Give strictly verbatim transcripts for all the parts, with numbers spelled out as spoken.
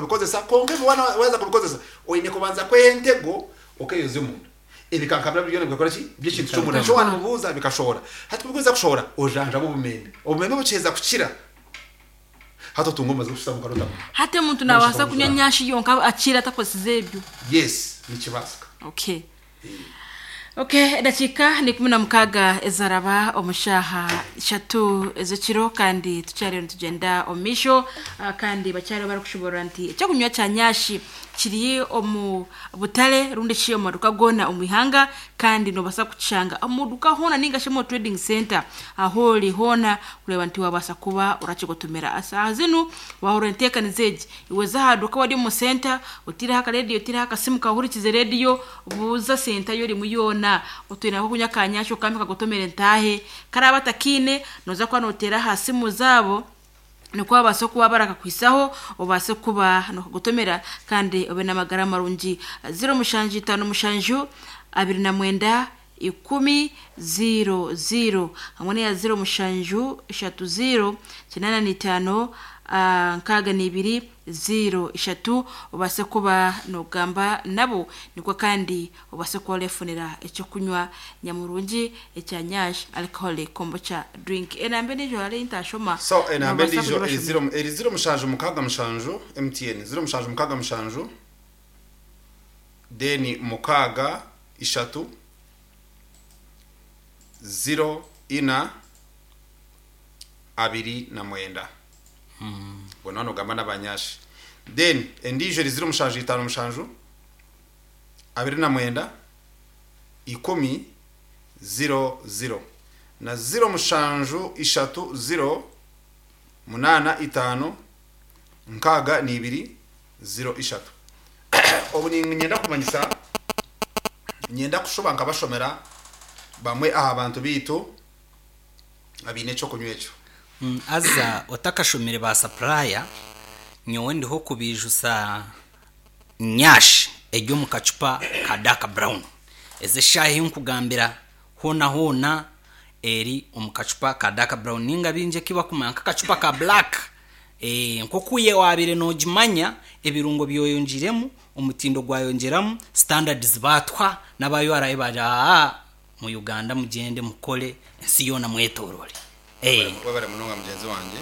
kubikozesa. Konka ebi wana waza kubikozesa, oine kubanza kweha entego okeyoza omunda, ebikankabira byona bikakora ki by'ekintu ky'omunda nikyo wanibubuuza bikashohora. Hati kubikuza kushohora, ojanjaba obumembe, obumembe bukiheza kukira, hati otunga omubazi gw'okushusha mukarota. Hati omuntu nabaasa kunywa nyashi yonka akira atakozesize ebyo? Yes, nikibaasika. okay okay edakiika ni ikumi na mukaaga ezaraba omu shaaha ishatu ez'ekiro, kandi tukyariyo nitugyenda omu maisho. ah, kandi bakyariyo barikushoborora nti ekyokunywa kya nyashi kiri omu butare rundi kiri omu maduka goona omu ihanga, kandi nobaasa kukishanga omu duka hoona ninga shi omu trading center aho ori hoona, kureeba nti wabaasa kuba orakigotomera. Saaha zinu wahurira enteekaniza egi, iwe za aha duka wari omu center, otiireho akarediyo, otiireho akasimu kahurikize rediyo, buuza senta yorimu yoona otwine kunywa kanyasha, okambe kagotomere ntaahe. Karaba atakiine, noza kuba noteera aha simu zaabo nikwo babaase kuba barakakwisaho, obaase kuba nokagotomera kandi obe n'amagara marungi. Ziro mushanju itaano mushanju abiri na mwenda ikumi ziro ziro hamwe n'eya ziro mushanju ishatu ziro kinaana n'itaano ah, nkaaga n'ibiri ziro ishatu, obaase kuba nogamba nabo, nikwo kandi obaase kuba orefunira ekyokunywa nyamurungi ekya Nyash Alcoholic Kombucha Drink. Enamba endiijo hariyo ntashoma? So enamba Nobaasa endiijo eri kugibashomera. ziro eri ziro mushanju mukaaga mushanju, M T N, ziro mushanju mukaaga mushanju, then mukaaga ishatu ziro ina abiri na mwenda. Ubwo hano ugamba n'abanyashi. Then endiijo eri ziro mushanju itaano mushanju abiri na mwenda ikumi ziro ziro na ziro mushanju ishatu ziro munaana itaano nkaaga n'ibiri ziro ishatu. Obu ninyenda kumanyisa, nyenda kushuba nkabashomera bamwe aha bantu biitu abiine ekyokunywa ekyo. Mm, aza otakashomere ba supplier, nyowe ndiho kubijusa nyash eri omu kacupa ka dark brown. Ezi eshaaha ei nkugambira, hoona hoona eri omu kacupa ka dark brown, ninga bingi eki bakumanya nk'akacupa ka black. Eh, nk'oku ye waabire noogimanya, ebirungo byoyongyiremu, omutindo gwayongyeramu, standards baatwa n'aba U R A bagira, aa mu Uganda mugyende mukore ensi yoona mwetorore. Eh, webare munonga mugenzi wanje.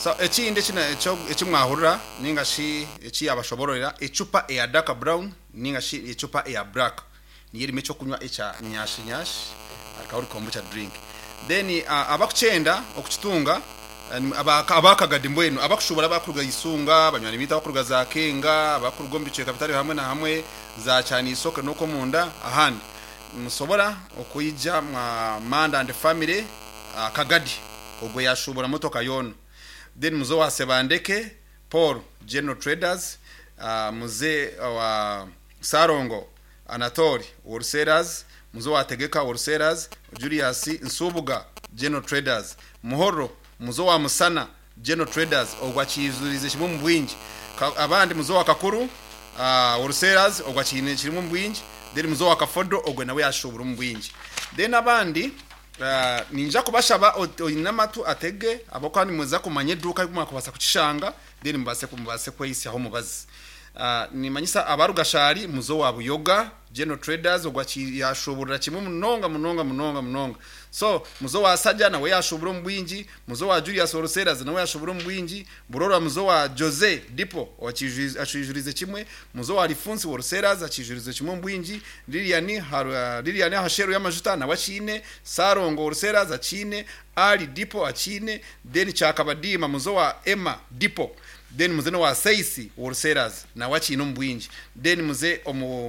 So ekindi ekina- ekyo- ekimwahurira ninga shi eki yabashobororera, ecupa eya dark brown ninga shi ecupa eya black niyo erimu ekyokunywa ekya Nyashi Nyash Alcoholic Kombucha Drink. Then uh, abakukyenda okukitunga, eh, ni- aba- abakagadi mbwenu abakushubura, abakuruga Isunga, banywani bitu abakuruga za Kenga, abakuruga omu bicweka bitari hamwe na hamwe, za Kyanisoke n'okwo munda ahandi, musobora okwija mwa Manda and Family, uh, Kagadi, ogwo yashubura motoka yoona. Then muze wa Sebandeke Paul, General Traders, uh, muze wa Sarongo Anatori, Wholesalers, muze wa Tegeka, Wholesalers, Julius Nsubuga, General Traders, Muhoro, muze wa Musana, General Traders, ogwo akizurize kimwe mu bwingi. Ka- abandi muze wa Kakuru, uh, Wholesalers, ogwo akiine kirimu mu bwingi. Then muze wa Kafodo, ogwo nawe yashubura mu bwingi. Then abandi, uh, ninja kubashaba ot- oine amatu atege abo, kandi muza kumanya eduuka mwakubaasa kukishanga, then mubase mubase kweyisyaho mubazi. uh, nimanyisa abarugashari, muzo wa Buyoga, General Traders, ogwo aki- yashuburira kimwe munonga munonga munonga munonga. So muzo wa Saja nawe yashubura omu bwingi, muzo wa Julius Wholesalers nawe yashubura omu bwingi, Burora, muzo wa Jose Dipo akijurize kimwe, muzo wa Lifunsi Wholesalers akijurize kimwe omu bwingi, Lilian Haru- Lilian Hasheru y'amajuta nawe akiine, Sarongo Wholesalers akiine, Ali Dipo akiine, then Kyakabadima, muzo wa Emma Dipo, then muze no wa Seisi Wholesalers nawe akiine omu bwingi. Then muze omu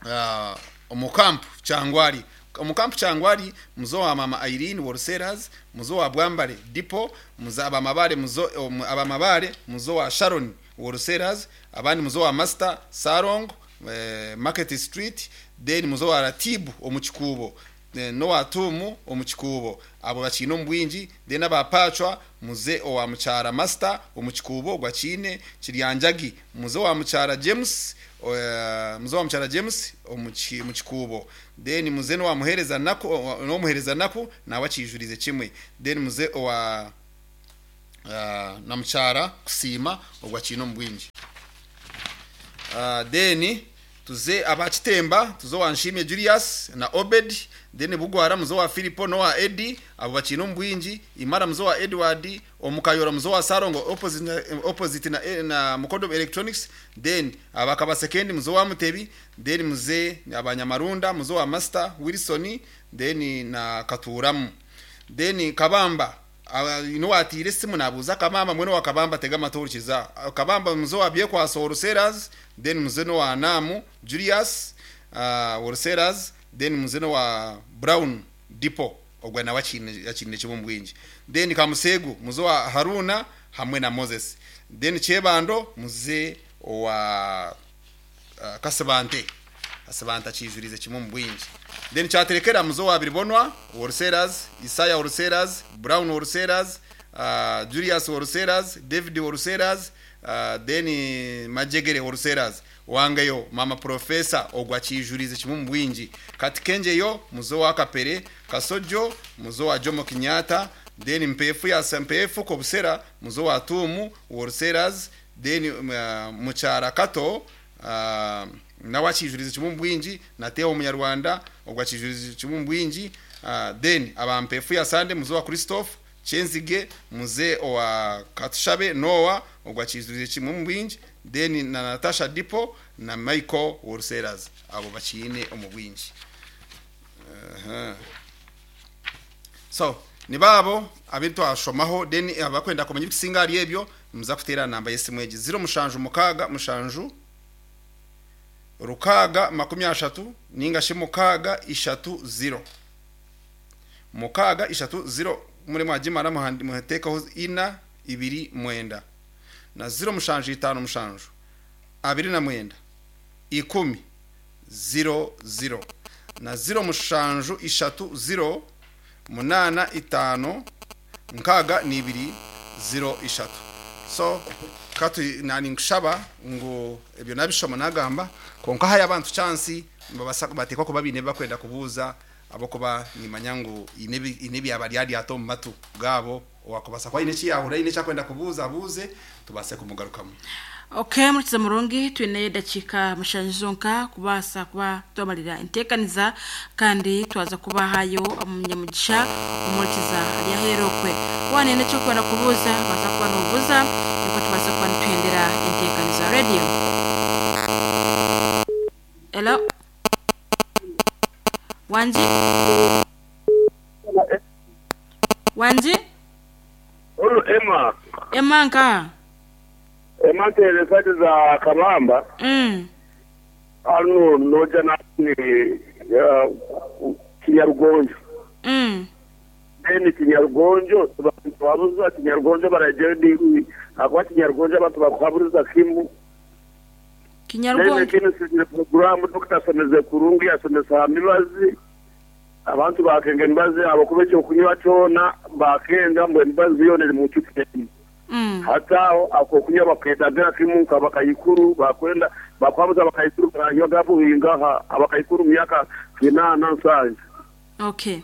uh, omukampu Kyangwali, omukampu Kyangwali, muzo wa mama Irene Wholesalers, muzo wa Bwambale Dipo, muzo abamabale, muzo omu- abamabale, muzo wa Sharon Wholesalers, abandi muzo wa Master Sarong, eh, Market Street, then muzo wa Ratibu omukikuubo, eh, nowa Tumu omukikuubo, abo bakiine omu bwingi. Then abapacwa, muze owa mukyara Master omukikuubo gwakiine, Kiryanjagi, muze wa mukyara James, eh, muze wa mukyara James omuki- mu kikuubo. Then muze nowa muhereza naku, nomuhereza naku nawe akijurize kimwe. Then muze owa uh, na mukyara kusiima ogwa kiine omu bwingi. Uh, then tuze abakitemba tuze wa Nshimye Julius na Obed, then Bugwara muzo wa Filipo no wa Eddie, abo bakina omu bwingi. Imara muzo wa Edward, Omukayora muzo wa Sarongo opposite na, opposite na, na Mukodo Electronics, then abakaba second muzo wa Mutebi, then muze abanyamarunda muzo wa Master Wilson, then na Katuramu, then Kabamba ino watire simu nabuza Kabamba mwene wa Kabamba tega amatorikiza Kabamba muzo wa Byekwaso Wholesalers, then muzeno wa Namu Julius uh, Wholesalers, then muzeno wa Brown Depot ogwa nawe akine akine kibo mbwingi, then Kamusegu muzo wa Haruna hamwe na Moses, then Chebando muze wa uh, Kasabante Kasabante akijurize kimwe mu bwingi, then Cyaterekera muzo wa Biribonwa Wholesalers, Isaya Wholesalers, Brown Wholesalers, uh, Julius Wholesalers, David Wholesalers, uh, then Majegere Wholesalers, wangeyo mama professor ogwa kijurize kimwe mu bwingi, Katikenjeyo muzo wa Kapere, Kasojo muzo wa Jomo Kenyatta, then Mpefu ya Mpefu Kobusera muzo wa Tumu Wholesalers, then uh, Muchara Kato uh, nawe akijurize kimwe mu bwingi, na Theo Omunyarwanda ogwa kijurize kimwe mu bwingi, uh, then abampefu ya Sande muzo wa Christophe Chenzige muze wa Katushabe Noah ogwa kijurize kimwe mu bwingi, then na Natasha Dipo na Michael Wholesalers, abo bakine omu bwingi. Uh-huh. So nibabo abintu ashomaho, then abakwenda kumenya ibisinga ari ebyo muza kutera namba yesimu egi zero mushanju mukaga mushanju rukaga makumi ashatu ninga shi mukaga ishatu zero mukaga ishatu zero muri mwagimara muhandi muhetekaho ina ibiri mwenda na zero mushanju itanu mushanju abiri na mwenda ikumi zero zero na zero mushanju ishatu zero munana itano nkaga ni ibiri zero ishatu. So katu nani nkushaba ngo ebyo nabishoma nagamba konka haya abantu chance babasa batekwa kuba bine bakwenda kubuza abokuba nimanya ngo inebi inebi abaryari ato mu matu gabo wakubasa kwa ine chiyahura ine chakwenda kubuza abuze tubase kumugarukamu. Okay, murikiza murungi twine dakika mushanjonka kubasa kuba twamalira intekaniza kandi twaza kubahayo umunyamugisha umurikiza ari aherokwe wane cyo kwenda kubuza baza kuba nubuza niko tubasa kuba nitwendera intekaniza radio. Hello Wanji Wanji Olu Emma Emma nka Emma tere sati za Kabamba. Mm. Ano noja na ni uh, Kinyarugonjo. Mm. Then Kinyarugonjo tubabuza Kinyarugonjo barajendi akwa Kinyarugonjo abantu bakwabuza kimu. Kinyarugonjo. Then kino programu Doctor Someze Kurungi asomesa mibazi abantu bakenga mibazi abakube cyo kunywa cyona bakenga mbwe mibazi yone mu cyupe. Mm. Hata ako kunywa baketagira kimuka bakayikuru bakwenda bakwabuza bakayikuru baranywa gabuhinga abakayikuru myaka kinana nsanje. Okay.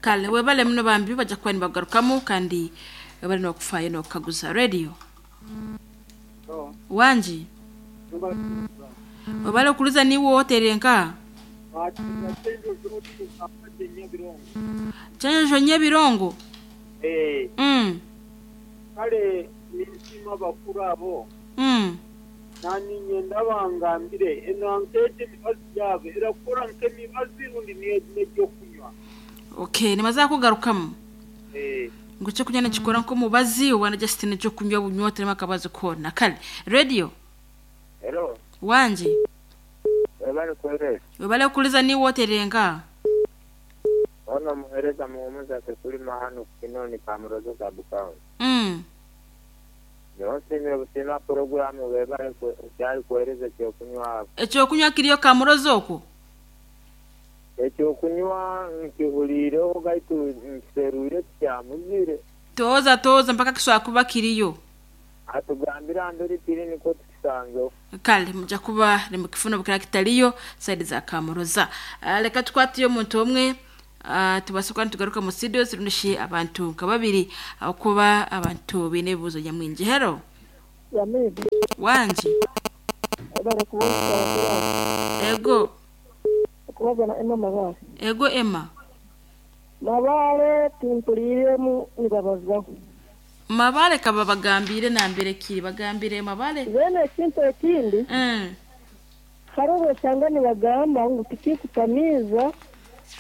Kale webale muno bambi baja kuba nibagarukamu kandi bari no kufayo no kaguza radio. Oh. Wanji. Webale kuliza ni wote renka. Chenjo Nyabirongo. Eh. Mm. Kale nisima bakuru abo. Mm. Nani nyenda bangambire eno ankete mibazi yabe irakora nke mibazi rundi niye cyo kunywa. Okay, nimaza kugarukamu. Eh. Ngo cyo kunyana kikora nko mubazi wana Justin cyo kunywa bunywa terema kabazo kona. Kale radio. Hello. Wanji. Webale kwere. Webale kuliza ni wote renka. Ono muhereza muhumuza kuri mahano kinoni pamurozo za Bukavu. Mm. Yonse nyo programu webale cyari kuhereza cyo kunywa. Ecyo kunywa kiriyo kamurozo oko. Ecyo kunywa nkihulire gaitu nserure cyamuzire. Toza toza mpaka kiswa kuba kiriyo. Atugambira ndori tiri niko tukisanzo. Kale muja kuba nimukifuna bukira kitaliyo side za kamuroza. Uh, reka tukwatiyo muntu omwe uh, tubase kuba nitugaruka mu studio zirunishi abantu nka babiri abakuba abantu bine ebibuzo nyamwingi. Hello. Yamizi wangi bari ego kubaza na Emma Mabare. Ego Emma Mabare timpuliremu nibabazaho. Mabare kaba bagambire nambere kiri bagambire Mabare bene ekintu ekindi mm. hari obwosanga nibagamba ngu tikikutamiiza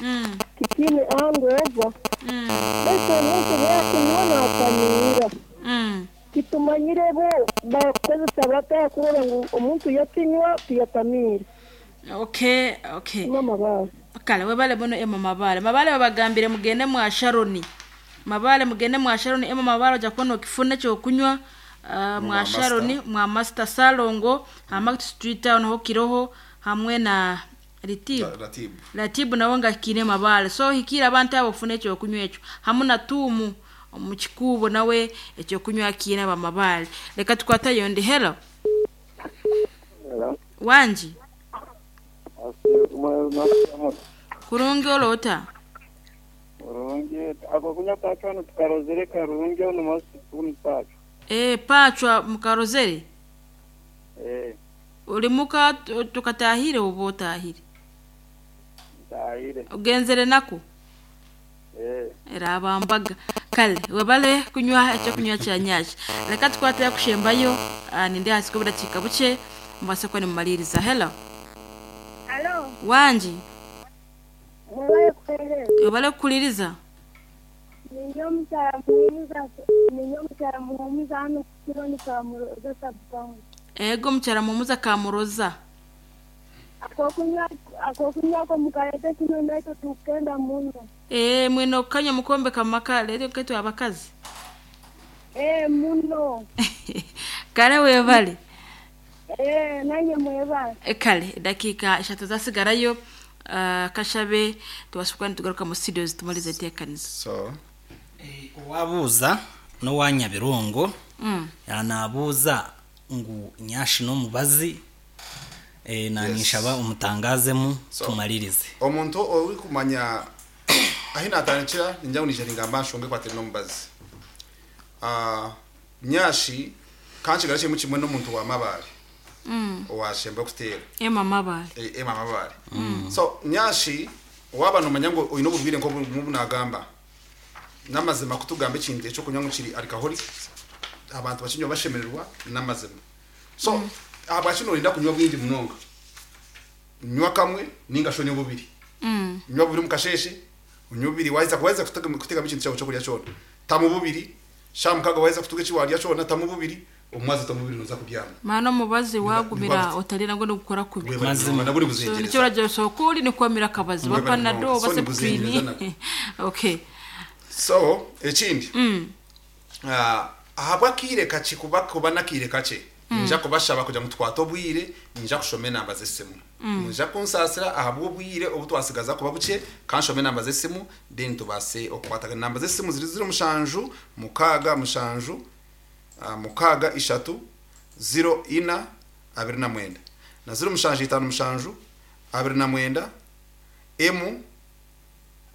mm. tikine angova mm. baitu omuntu bwakunywa natamiira mm. titumanyire bo bakozesa bata kurora ngu omuntu yakinywa tiyatamiire. Okay, okay. Emma Mabare. Kale webale bono Emma Mabare. Mabare babagambire mugende mwa Sharoni. Mabare mugende mwa Sharoni. Emma Mabare ojja kubona okifuna ekyokunywa uh, mwa Sharoni mwa Master Salongo hama Street Town ho kiroho hamwe na Ratibu. Ratibu. Ratibu nawe nga kine Mabare. So hikira abantu abo ofuna ekyokunywa ekyo. Hamwe na Tumu omu kikubo nawe ekyokunywa kine aba Mabare. Reka tukwatayo ndi. Hello. Hello. Wanji. Kurungi olota. Kurungi ako kunya pachwa no tukarozere karungi ono masi kuni pachwa. Eh pachwa mukarozere? Eh. Uri muka tukatahire ubo tahire? Tahire. Ugenzere nako? Eh. Era abambaga. Kale webale kunywa ekyo kunywa kya nyashi. Reka tukwatira kushembayo ninde hasiko budakika buke mbase ko ni mumaliriza. Hello. Hello. Wanji. Mwebale kuhereza. Webale kukuliriza. Ninyo mukyala muhumuza, ninyo mukyala muhumuza hano ku Kironi Kamuroza sub-county. Ego mukyala muhumuza Kamuroza. Akokunywa akokunywa ko mukalete kino nakyo tukenda muno. Eh mwino kanya mukombe kamaka lero ketu abakazi. Eh muno. Kale webale. Eh nanye mwebale. Kale dakika eshatu zasigarayo. Uh, kashabe tubasukani tugaruka mu studios tumalize tekanizo. So eh, owabuuza n'owanyabirongo mm. yanabuuza ngu nyashi n'omubazi eh, nanishaba Yes. omutangazemu So, tumalirize. Omuntu ori kumanya ahi natandikira ninja ngu ningamba nshonge kwatira n'omubazi. Ah, nyashi kanshigara kirimo kimwe n'omuntu wa Mabare. Mm. Owashemba kuteera. Emma Mabare. E- Emma Mabare. So nyashi waba nomanya ngo oyine obubwire nko bubu nagamba. Namazima kutugamba ekintu ekyokunywa ngu kiri alcoholic abantu bakinywa bashemererwa namazima. So mm. abakino orinda kunywa bwingi munonga. Nywa kamwe ninga shonye bubiri. Mm. Nywa bubiri mukasheshe, unywa bubiri waiza kuweza kutega kutega ekintu cyawe cyokurya cyona. Tamu bubiri, shamukaga waiza kutuga ekiwarya cyona tamu bubiri, omwazi tamu bubiri noza kubyama. Mana omubazi wagumira Niba- otalira ngo nigukora kubi. Mazima. Naburi So buzengereza. nicyo uragira sokuri ni kwamira akabazi wa Mwebale panado munonga. So base nibuzengereza prini. Okay. So ekindi Mm. ah, ahabwa akiire kake kuba kuba nakiire kake ninja kubashaba kugira ngu twate obwire ninja kushoma enamba z'esimu ninja kunsasira ahabwa obwire obu twasigaza kuba buke kanshome enamba z'esimu then tubase okukwatagana. Enamba z'esimu ziri ziro mushanju mukaaga mushanju ah, mukaaga ishatu ziro ina abiri na mwenda na ziro mushanju itano mushanju abiri na mwenda emu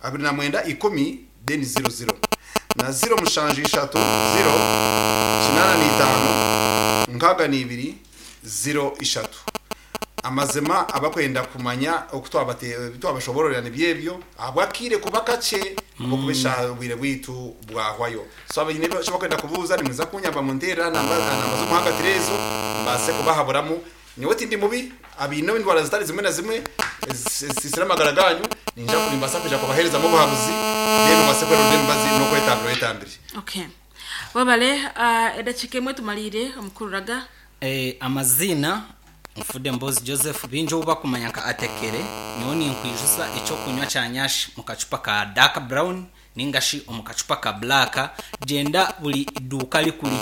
abiri na mwenda ikumi then ziro ziro na ziro mushanju ishatu ziro kinana n'itano nkaga n'ibiri ziro ishatu. Amazima abakwenda kumanya okutwabate twabashobororera nibyebyo ahabwakire kuba kake okubesha obwire bwitu bwahwayo. So abaine byo bakwenda kubuuza nimwiza kunyamba mu nteera namba namba z'omuhanga ezo mbase kubahaburamu. Nyowe tindi mubi abiine endwara zitari zimwe na zimwe zisisira amagara ganyu ninja kulimbasa kuja kubaherezamu obuhabuzi then mbase kwerunda emibazi n'okwetambira wetambire. Okay. Webale uh, edakika emwe tumalire omukururaga. Eh, amazina Nfude Mbozi Joseph bingi obu bakumanya nka atekere nyowe ninkwijusa ekyokunywa kya nyashi mu kacupa ka dark brown ningashi omu kacupa ka black. Gyenda buli iduuka likuli